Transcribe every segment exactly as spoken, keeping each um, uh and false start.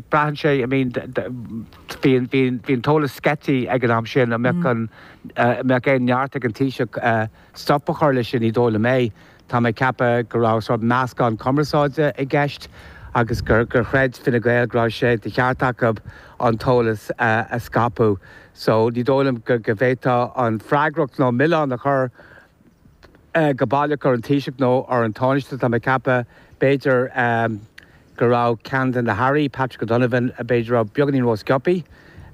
Braitheann sé, I mean, bhí an t-eolas scaipthe ag an am sin, an mbeadh an mbeadh aon neart ag an Taoiseach stop a chur leis sin, ní dóigh liom é. Tá mé ag ceapadh go raibh sórt meascán cumarsáide i gceist agus gur gur chreid Fine Gael go raibh sé de cheart acu an t-eolas a scaipeadh. So ní dóigh liom go go bhféadfá an freagracht nó milleán a chur go baileach ar an Taoiseach nó ar an Tánaiste. Tá mé ag ceapadh b'fhéidir go raibh ceann de na hairí, Patrick O'Donovan, b'fhéidir raibh beagáinín rósciobtha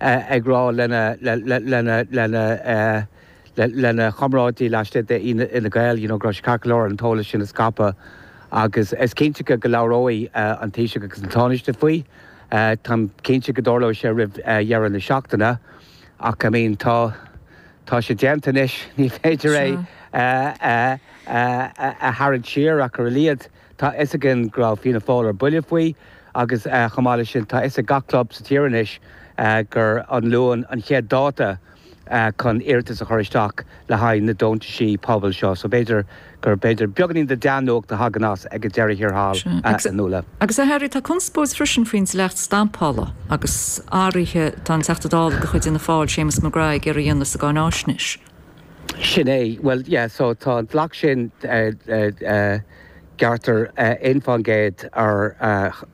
ag rá lena lena lena lena chomrádaí laistigh de Fhine Gael, you know, go raibh sé ceart go leor an t-eolas sin a scaipeadh agus is cinnte go labhróidh an Taoiseach agus an Tánaiste faoi. Táim cinnte go dtarlóidh sé roimh dheireadh na seachtaine ach I mean tá tá sé déanta anois, ní féidir é a tharraingt siar ach ar a laghad tá fhios againn go raibh Fianna Fáil ar buile faoi agus chomh maith leis sin tá fhios ag gach club sa tír anois gur an Luan an chéad dáta chun iarratas a chur isteach le haghaidh na deontaisí pobail seo. So b'fhéidir gur b'fhéidir beagáinín de dea-nuacht a thagann as ag an deireadh thiar thall Nuala. Agus a Harry, tá conspóid freisin faoin dleacht stampála agus athruithe atá an Teachta Dála de chuid Fhianna Fáil, Séamus McGrath, ag iarraidh a dhéanamh sa gcáináisnéis. Sin é. Bhuel, yeah, so tá an dleacht sin gearrtar aon faoin gcéad ar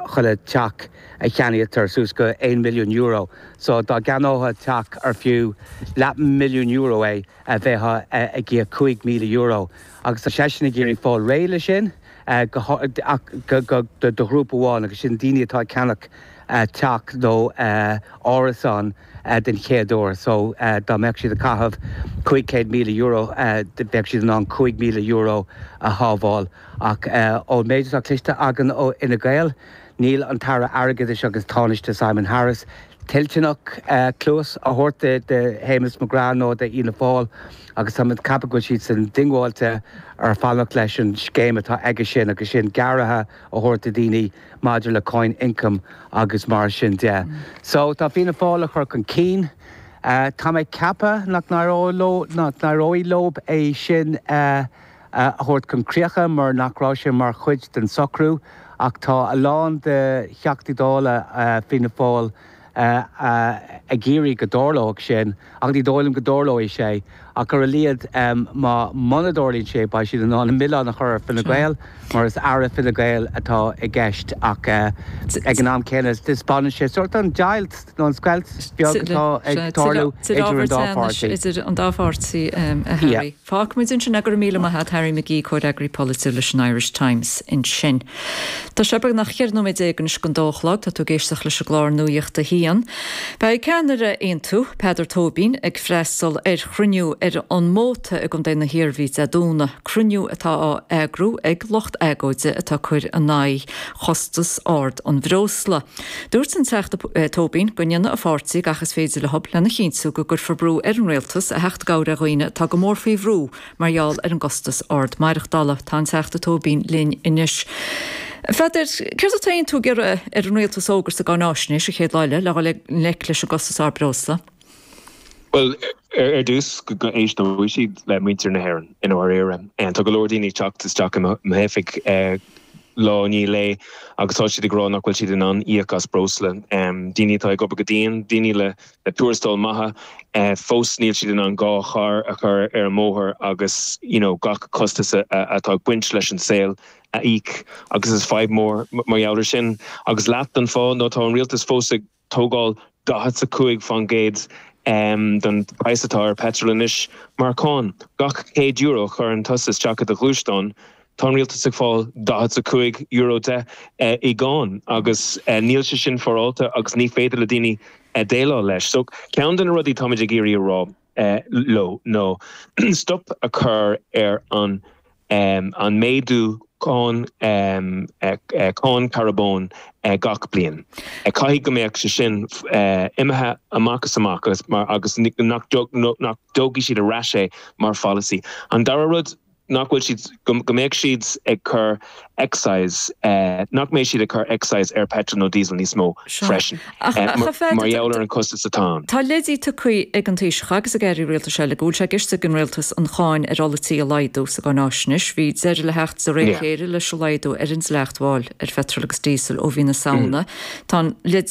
chuile teach a cheannaítear suas go aon milliún euro. So dá gceannófá teach ar fiú leath milliún euro é, bheifeá ag íoc cúig míle euro. Agus tá seisean ag iarraidh fáil réidh leis sin ach do ghrúpa amháin agus sin daoine atá ag ceannach teach nó árasán den chéad uair. So dá mbeadh siad ag caitheamh cúig chéad míle euro bheadh siad in ann cúig míle euro a shábháil. Ach ón méid atá cloiste againn ó Fhine Gael, níl an tAire Airgeadais agus Tánaiste Simon Harris toilteanach cluas a thabhairt do Shéamus McGrath nó d'Fhianna Fáil agus tá mé ag ceapadh go bhfuil siadsan diongbháilte ar fanacht leis an scéim atá aige sin agus sin gearradh a thabhairt do dhaoine maidir le cáin ioncaim agus mar sin de. So tá Fianna Fáil á chur chun cinn. Tá mé ag ceapadh nach n-éireoidh leo é sin a thabhairt chun críche mar nach raibh sé mar chuid den socrú ach tá a lán de Theachtaí Dála Fianna Fáil ag iarraidh go dtarlódh sin ach ní dóigh liom go dtarlóidh sé ach ar a laghad má muna dtarlaíonn sé beidh siad in ann an milleán a chur ar Fine Gael mar is aire Fine Gael atá i gceist ach ag an am céanna taispeánann sé sórt an deighilt nó an scoilt beag atá ag tarlú idir an dá pháirtí. Idir an dá pháirtí a Harry. Fágfaimid ansin é, go raibh míle maith agat Harry McGee, comhfhreagraí polaitiúil leis an Irish Times ansin. Tá sé beagnach ceithre nóiméad déag anois don dó a chlog, tá tú ag éisteacht leis an gclár Nuacht a hAon. Beidh ceannaire Aontú, Peadar Tóibín, ag freastal ar chruinniú ar an Móta i gContae na hIarmhí Dé Domhnaigh, cruinniú atá á eagrú ag lucht agóide atá ag cur in aghaidh chostas ard an bhreosla. Dúirt an Teachta Tóibín go ndéanfaidh a pháirtí gach is féidir leo lena chinntiú go gcuirfear brú ar an rialtas a theacht i gcabhair ar dhaoine atá go mór faoi bhrú mar gheall ar an gcostas ard maireachtála. Tá an Teachta Tóibín linn anois. A Pheadair, céard atá Aontú ag iarraidh ar an rialtas a fhógairt sa gcáináisnéis an chéad lá eile le dhul i ngleic leis an gcostas ard breosla? Bhuel, ar dtús go n-éisteoidh siad le muintir na hÉireann i ndáiríre. Tá go leor daoine ag teacht isteach i m'oifig lá i ndiaidh lae agus tá siad ag rá nach bhfuil siad in ann íoc as breosla. Daoine atá ag obair go dian, daoine le tuarastail maithe, fós níl siad in ann dhá charr a chur ar an mbóthar agus you know gach costas atá ag baint leis an saol a íoc agus is fadhb mór mar gheall ar sin. Agus leath den fáth nó tá an rialtas fós ag tógáil daichead a cúig faoin gcéad den praghas atá ar petrol anois mar cháin. Gach céad euro a chuireann tusa isteach i do ghluaisteán, tá an rialtas ag fáil daichead a cúig euro de i gcáin agus níl sé sin féaráilte agus ní féidir le daoine déileáil leis. So ceann de na rudaí táimid ag iarraidh a rá leo nó stop a chur ar an an méadú cáin cáin carbóin gach bliain. Caithfidh go mbeadh sé sin imithe amach is amach agus mar agus nach nach dtógfaidh siad ar ais é mar pholasaí. An dara rud nach bhfuil siad go mbeidh siad ag cur excise nach mbeidh siad ag cur excise ar petrol nó diesel níos mó freisin mar gheall ar an costas atá ann. Tá leidí tugtha ag an Taoiseach agus ag airí rialtais eile go bhfuil sé i gceist ag an rialtas an cháin ar ola tí a laghdú sa gcáináisnéis. Bhí deireadh le theacht de réir a chéile leis an laghdú ar an dleacht mháil ar pheitreal agus díosal ó mhí na Samhna. Tá an leid